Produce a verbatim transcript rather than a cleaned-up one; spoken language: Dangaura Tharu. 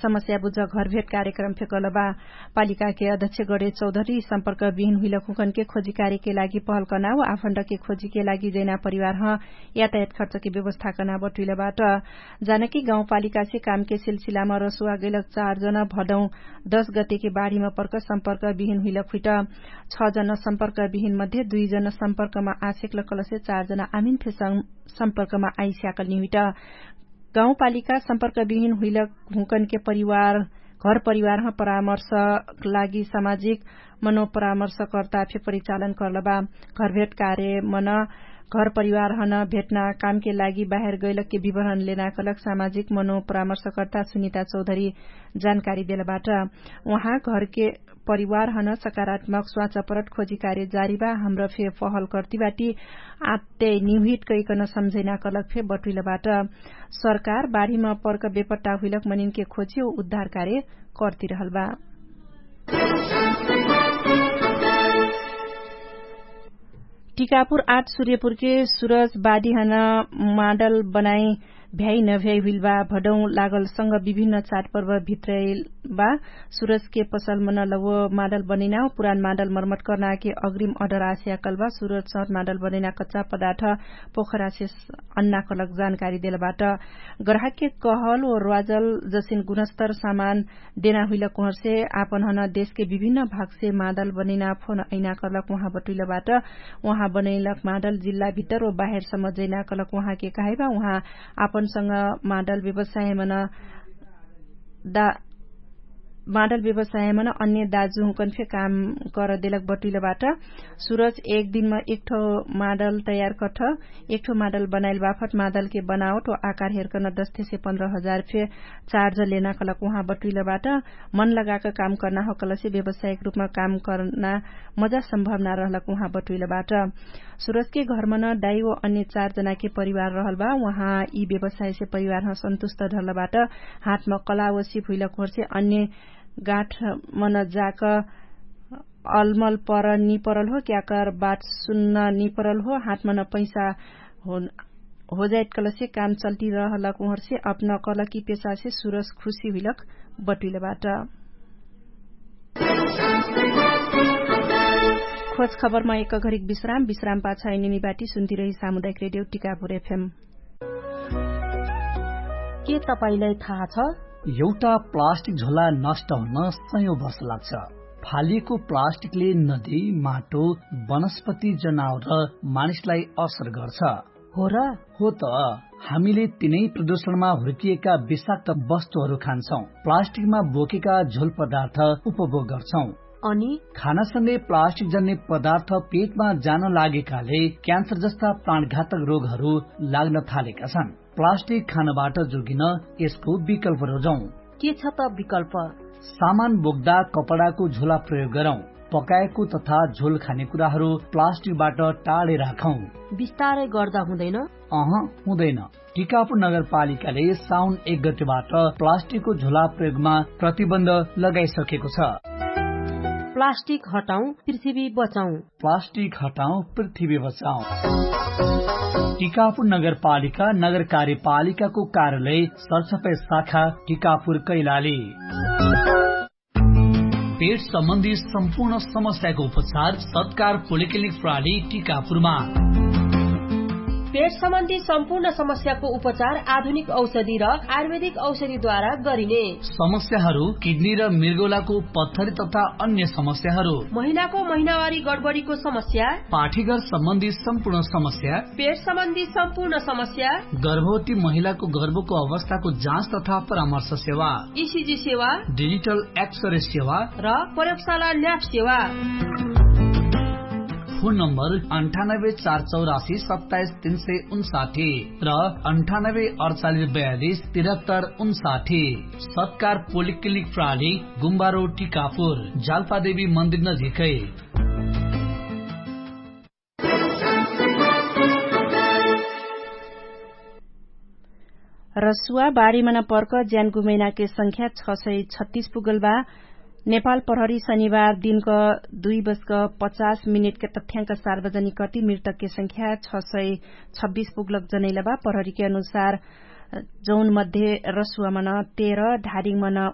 समस्या बुझ घरभेट कार्यक्रम फेकलबा। पालिकाके अध्यक्ष गणेश चौधरी सम्पर्क बिहिन हुइलक हुँकनके खोजी कार्यके लागि पहल कर्ना व आफण्डके खोजीके लागि जैना परिवार ह यातायात खर्चके व्यवस्था कर्ना बटुइलबाट। जानकी गाउँपालिकासे कामके सिलसिलामा रसुवा गैलक चार जन भदौँ दश गतेके बाढीमा पर्क सम्पर्क बिहिन हुइलक हुइट छ जन सम्पर्क बिहिन मध्ये दुइ जन सम्पर्कमा आसेकलक कलसे चार जन आमिन फेसङ सम्पर्कमा आइस्याकल निहुइट। गाउँपालिका सम्पर्क बिहिन हुइलक हुँकनके परिवार घर परिवारह परामर्श लागि सामाजिक मनोपरामर्शकर्ता फे परिचालन कर्लबा। घरभेट कार्य मन घर परिवारहन भेट्ना कामके लागि बाहेर गैलकके विवरण लेनाकलक सामाजिक मनोपरामर्शकर्ता सुनिता चौधरी जानकारी देलबाट। उहाँ घरके परिवारहन सकारात्मक स्वाचपरट खोजी कार्य जारी बा। हमरा फे पहल कर्तिबाटी आत्ते निहुइट कैकन सम्झैनाकलक फे बटुइलबाट। सरकार बाढीमा पर्क बेपट्टा हुइलक मनिनके खोजी उ उद्धार कार्य कर्तिरहल बा। टिकापुर आठ सुर्यपुरके सुरज बादिहन माडल बनाइ भ्याइ नभ्याइ हुइल बा। भडौँ लागलसँग विभिन्न चाडपर्व भित्रैल बा। सुरजके पसलमन लव माडल बनैना पुरान माडल मर्मत कर्नाके अग्रिम अडर आस्याकल बा। सुरज सट माडल बनैना कच्चा पदार्थ पोखरासे अन्नाकलक जानकारी देलबाट। ग्राहकके कहल व र्वाजल जसिन गुणस्तर सामान देना हुइलक उहर्से आपन हन देशके विभिन्न भागसे मादल बनैना फोन अइना कर्लक उहाँ बटुइलबाट। उहाँ बनैलक मादल जिल्ला भित्तर व बाहेर सम्म जैना कर्लक उहाँके कहाइबा। उहाँ आपनसँग मादल व्यवसायमन दा मादल व्यवसायमन अन्य दाजुहुँकन फे काम करदेलक बटुइलबाट। सुरज एक दिनमा एकठो मादल तयार कठ एकठो मादल बनाइल बाफट मादलके बनावट व आकार हेरकन दस्तेसे पन्ध्र हजार फे चार्ज लेना कलक उहाँ बटुइलबाट। मन लगाक काम कर्ना हो कलसे व्यवसायिक रूपमा काम कर्ना मजा सम्भवना रहलक उहाँ बटुइलबाट। सुरजके घरमन दाइ व अन्य चार जनाके परिवार रहल बा। उहाँ यी व्यवसायसे परिवारह सन्तुष्ट धरलबाट। हातम कला व सिप हुइलक होर्से अन्य गाठमन जाक अलमल पर निपरल हो क्याकर बात सुन्न निपरल हो। हातमन पैसा होजाइत कलसे काम चल्टी रहलक उहर्से अपना कलकी पेसासे सुरस खुशी हुइलक बटुइलबाट। खोज खबरमा एक घरिक विश्राम विश्राम पाछ एनिमी बाटी सुन्ती रही सामुदायिक रेडियो टिकापुर एफएम। के तपाईंलाई थाहा छ? एउटा प्लास्टिक झोला नष्ट हुन सयौं वर्ष लाग्छ। फालिएको प्लास्टिकले नदी, माटो, वनस्पति, जनावर र मानिसलाई असर गर्छ। हो र? हो त। हामीले तिनै प्रदूषणमा हुर्किएका विषाक्त वस्तुहरू खान्छौं, प्लास्टिकमा बोकेका झोल पदार्थ उपभोग गर्छौं। अनि खानासँगै प्लास्टिक जन्ने पदार्थ पेटमा जान लागेकाले क्यान्सर जस्ता प्राणघातक रोगहरू लाग्न थालेका छन्। प्लास्टिक खानबाट जोगिन यसको विकल्प रोजौं। के छ त विकल्प? सामान बोक्दा कपडाको झोला प्रयोग गरौं। पकाएको तथा झोल खाने कुराहरू प्लास्टिकबाट टाढे राखौं। बिस्तारै गर्दा हुँदैन? अह, हुँदैन। टिकापुर नगरपालिकाले साउन एक गतेबाट प्लास्टिकको झोला प्रयोगमा प्रतिबन्ध लगाइसकेको छ। प्लास्टिक हटाउँ, पृथ्वी बचाउँ। प्लास्टिक हटाउँ, पृथ्वी बचाउँ। टिकापुर नगरपालिका नगर कार्यपालिकाको कार्यालय सरसफाई शाखा टिकापुर कैलाली। पेट सम्बन्धी सम्पूर्ण समस्याको उपचार सत्कार पोलिक्लिनिक प्राली टिकापुरमा। पेट सम्बन्धी सम्पूर्ण समस्याको उपचार आधुनिक औषधि र आयुर्वेदिक औषधिद्वारा गरिने। समस्याहरू किडनी र मृगौलाको पत्थरी तथा अन्य समस्याहरू, महिलाको महिनावारी गडबडीको समस्या, पाठीघर सम्बन्धी सम्पूर्ण समस्या, पेट सम्बन्धी सम्पूर्ण समस्या, गर्भवती महिलाको गर्भको अवस्थाको जाँच तथा परामर्श सेवा, इसिजी सेवा, डिजिटल एक्सरे सेवा र प्रयोगशाला ल्याब सेवा। फोन नम्बर अन्ठानब्बे चार चौरासी सत्ताइस तीन सय उन्साठी र अन्ठानब्बे अडचालिस बयालिस तिरहत्तर उन्साठी। सत्कार पोलिक्लिनिक प्राली गुम्बारो टिकापुर जाल्पादेवी मन्दिर नजिकै। रसुवा बाढीमन पर्क ज्यान गुमैनाके संख्या छ सय छत्तीस पुगल बा। नेपाल प्रहरी शनिबार दिनक दुई बजक पचास मिनेटके तथ्याङ्क सार्वजनिक कति मृतकके संख्या छ सय छब्बिस पुगलक जनैलबा। प्रहरीके अनुसार जौन मध्ये रसुवामन तेह्र, धारिङमन